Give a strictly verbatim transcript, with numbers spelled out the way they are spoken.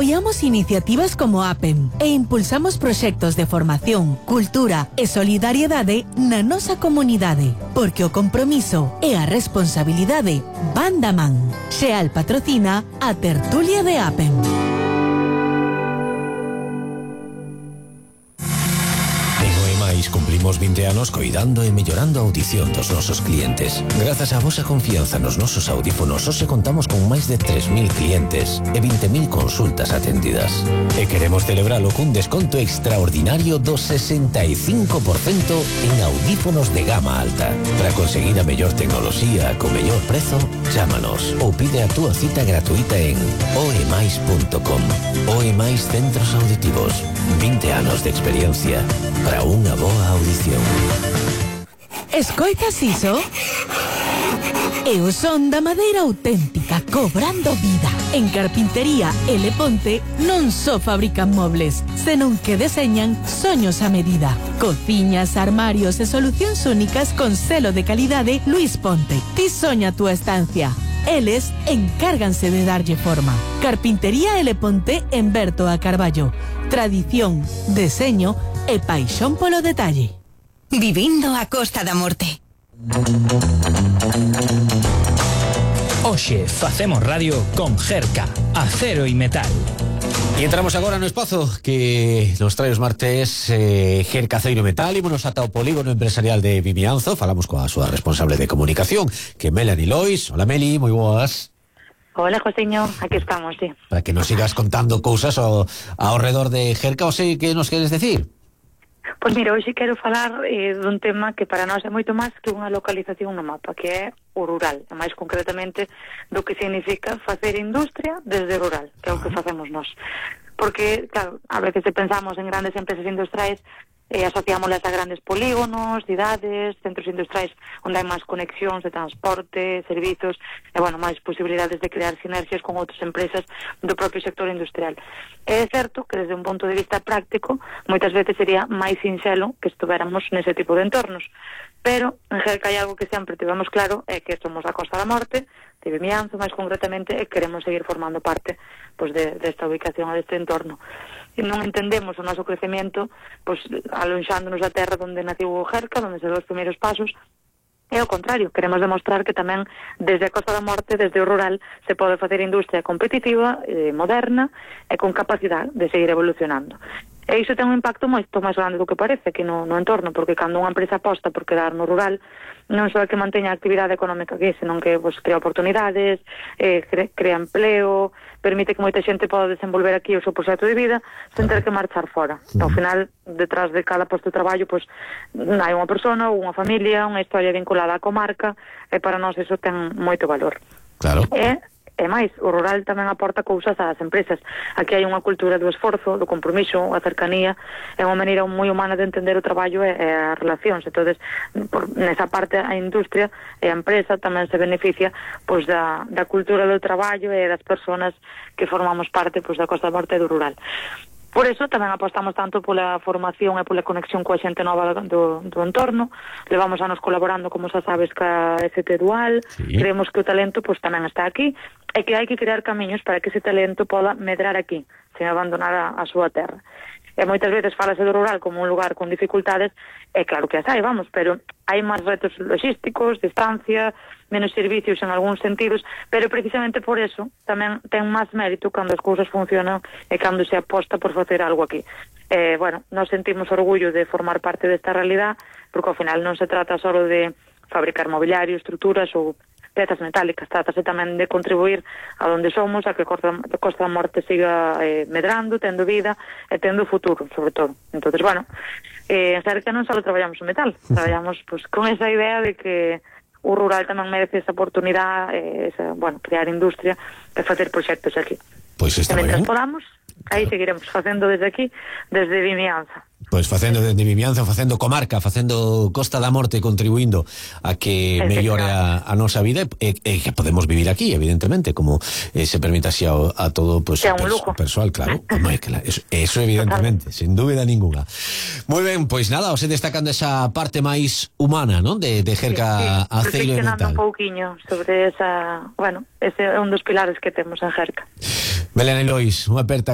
Apoiamos iniciativas como APEM e impulsamos proxectos de formación, cultura e solidariedade na nosa comunidade, porque o compromiso e a responsabilidade van da man. Xeal patrocina a tertulia de APEM. Cumplimos vinte anos coidando e mellorando a audición dos nosos clientes. Grazas á vosa confianza nos nosos audífonos, hoxe contamos con máis de tres mil clientes e vinte mil consultas atendidas. E queremos celebralo cun desconto extraordinario do sesenta e cinco por cento en audífonos de gama alta. Para conseguir a mellor tecnoloxía co mellor prezo, chámanos ou pide a túa cita gratuita en oemais punto com. Oemais Centros Auditivos. vinte anos de experiencia para unha boa audición. Escoitas iso? É o son da madeira auténtica cobrando vida. En Carpintería L. Ponte non só fabrican mobles, senón que deseñan soños a medida. Cociñas, armarios e solucións únicas con selo de calidade Luis Ponte. Ti soña a túa estancia. Eles encárganse de darlle forma. Carpintería L. Ponte en Berto a Carballo. Tradición, deseño e paixón polo detalle. Vivindo a Costa da Morte. Oxe, facemos radio con Jerca, acero e metal. E entramos agora no espazo que nos trae os martes eh, Jerca, Aceiro e Metal. Ímonos ata o polígono empresarial de Vimianzo. Falamos coa súa responsable de comunicación, que é Melanie Lois. Hola Meli, moi boas. Hola, Joseño, aquí estamos, sí. Para que nos sigas contando cousas ao, ao redor de Jerca, o sei que nos queres decir? Pois mira, hoxe quero falar eh, dun tema que para nós é moito máis que unha localización no mapa, que é o rural, e máis concretamente do que significa facer industria desde o rural, que é o que facemos nós. Porque, claro, a veces pensamos en grandes empresas industriais e eh, asociámoslas a grandes polígonos, cidades, centros industriais onde hai máis conexións de transporte, servizos e, bueno, máis posibilidades de crear sinerxias con outras empresas do propio sector industrial. É certo que desde un punto de vista práctico moitas veces sería máis sinxelo que estuveramos nese tipo de entornos, pero en Jerca hai algo que sempre tivemos claro, é que somos a Costa da Morte, de Vimianzo máis concretamente, e queremos seguir formando parte pois, de, desta ubicación e deste entorno. E non entendemos o noso crecemento pois, alonxándonos da terra onde naciu o Jerca, onde se deu os primeiros pasos. É o contrario, queremos demostrar que tamén desde a Costa da Morte, desde o rural, se pode facer industria competitiva, eh, moderna e con capacidade de seguir evolucionando. E iso ten un impacto moito máis grande do que parece que no, no entorno, porque cando unha empresa aposta por quedar no rural, non só é que manteña a actividade económica aquí, senón que pues, crea oportunidades, eh, cre, crea empleo, permite que moita xente poda desenvolver aquí o seu proxecto de vida sen ter que marchar fora. Uh-huh. Ao final, detrás de cada posto de traballo, pues, hai unha persona ou unha familia, unha historia vinculada á comarca, e para nós iso ten moito valor. Claro. E E máis, o rural tamén aporta cousas ás empresas. Aquí hai unha cultura do esforzo, do compromiso, a cercanía, é unha maneira moi humana de entender o traballo e, e as relacións. Entón, por, nesa parte, a industria e a empresa tamén se beneficia pois, da, da cultura do traballo e das persoas que formamos parte pois, da Costa da Morte e do rural. Por eso tamén apostamos tanto pola formación e pola conexión coa xente nova do, do entorno. Levamos anos colaborando, como xa sabes, ca F T Dual. Sí. Creemos que o talento pues, tamén está aquí e que hai que crear camiños para que ese talento poda medrar aquí, sen abandonar a, a súa terra. E moitas veces falase do rural como un lugar con dificultades, e claro que as hai, vamos, pero hai máis retos logísticos, distancia, menos servicios en algúns sentidos, pero precisamente por eso tamén ten máis mérito cando as cousas funcionan e cando se aposta por facer algo aquí. Eh, bueno, nos sentimos orgullo de formar parte desta realidad, porque ao final non se trata só de fabricar mobiliario, estruturas ou pezas metálicas, trátase tamén de contribuir a donde somos, a que a Costa, a Costa da Morte siga eh, medrando, tendo vida e tendo futuro, sobre todo. Entonces, bueno, eh, en Jerca non só traballamos o metal, traballamos pues, con esa idea de que o rural tamén merece esa oportunidade, eh, esa, bueno, crear industria e facer proxectos aquí. Pois está ben. E mentre podamos, aí seguiremos facendo desde aquí, desde Vimianza. Pois facendo desde Vimianza, facendo comarca, facendo Costa da Morte, contribuindo a que mellore a, a nosa vida e, e que podemos vivir aquí, evidentemente, como eh, se permita así a, a todo pues, perso, persoal, claro. Eso, eso evidentemente, sin dúbida ninguna. Moi ben, pois nada, os destacando esa parte máis humana, ¿no? De, de Jerca, sí, sí, Aceiro e Metal. Un pouquiño sobre esa, bueno, ese é un dos pilares que temos en Jerca. Melanie Lois, unha aperta